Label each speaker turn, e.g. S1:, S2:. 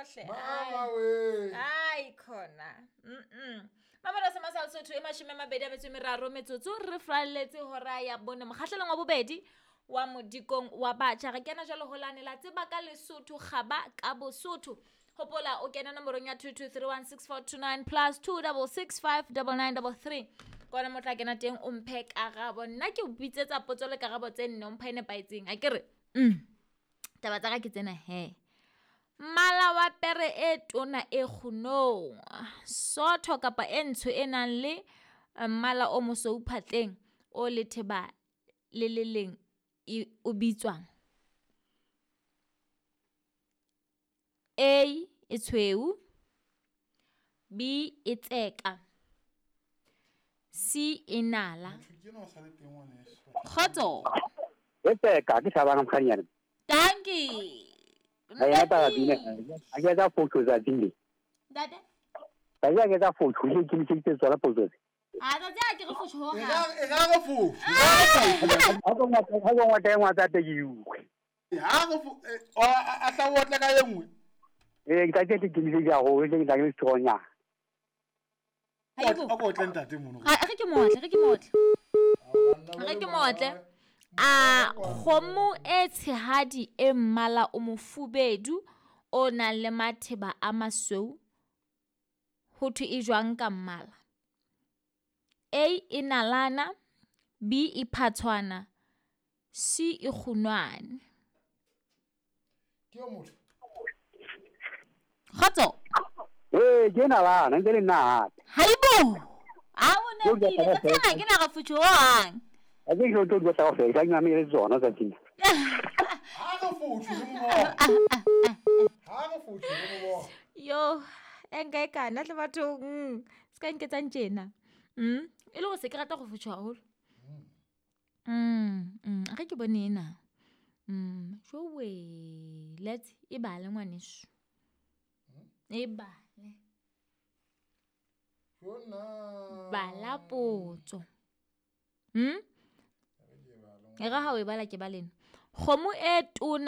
S1: hle.
S2: Mama we.
S1: Ai khona. Mamelo se masal Sotho e 23 metsotso re fralletse hora ya bone mokgahlelong wa bobedi wa modikong wa batjha. Re kena jwalo ho lane la tseba ka Lesotho kgaba ka Bosotho. Hopola o kena nomorong ya 22316429 plus 26659933. Kona motla kena teng o mphe karabo. Nna ke o bitsetsa potso le karabo tse nne o mphe e nepahetseng. Akere? Taba tsa ka ke tsena he. Mmala wa pere e tona e kgunong, sotho kapa e ntsho e nang le mmala o mosweu phatleng o letheba le le leng o bitswang? A e tshweu, B e tseka, C e nala. Kgotso.
S3: E tseka ke Thabang mokganyana.
S1: Dankie.
S3: Ha taba bine. A ke tsa fotho tsa tsile.
S1: Ntate.
S3: Ba ya ke tsa fotho le ke ntse tswala potso.
S1: A tsatsi a ke re fotho ho ha.
S2: E ga re fotho.
S3: Ha go ngwa teng wa tsa te ke utlwe.
S2: Ha re fo a tla o tla ka e nngwe.
S3: Ee, ke tla ke ke ntse ja go ke tla ke tshonya.
S2: A go tle ntate mono.
S1: Ha re ke motle, re ke motle. Re ke motle. A kgomo e tshehadi e mmala o mofubedu o nang le matheba a masweu ho thwe e jwang ka mmala? A e nalana, B e phatshwana, C e kgunwane.
S2: Ke o motho.
S1: Kgotso.
S3: Ee, ke nalana ntse le nna hape.
S1: Haibo. A o ne pile ka tsena ke na ga futho hang.
S3: A ke tlo tlo tla go fela ke mamele tsona tsa tsena.
S2: Ha re fotho re mo bona. Ha re fotho re mo bona.
S1: Yo, e nka e kana tle bathong. Se ka nketsang tjena. E le go se ke rata go fotho haholo. Re ke bone ena. Jowe, let's e bale ngwaneso. E bale. Bala potso. E re ha o e bala ke balena. Kgomo e tona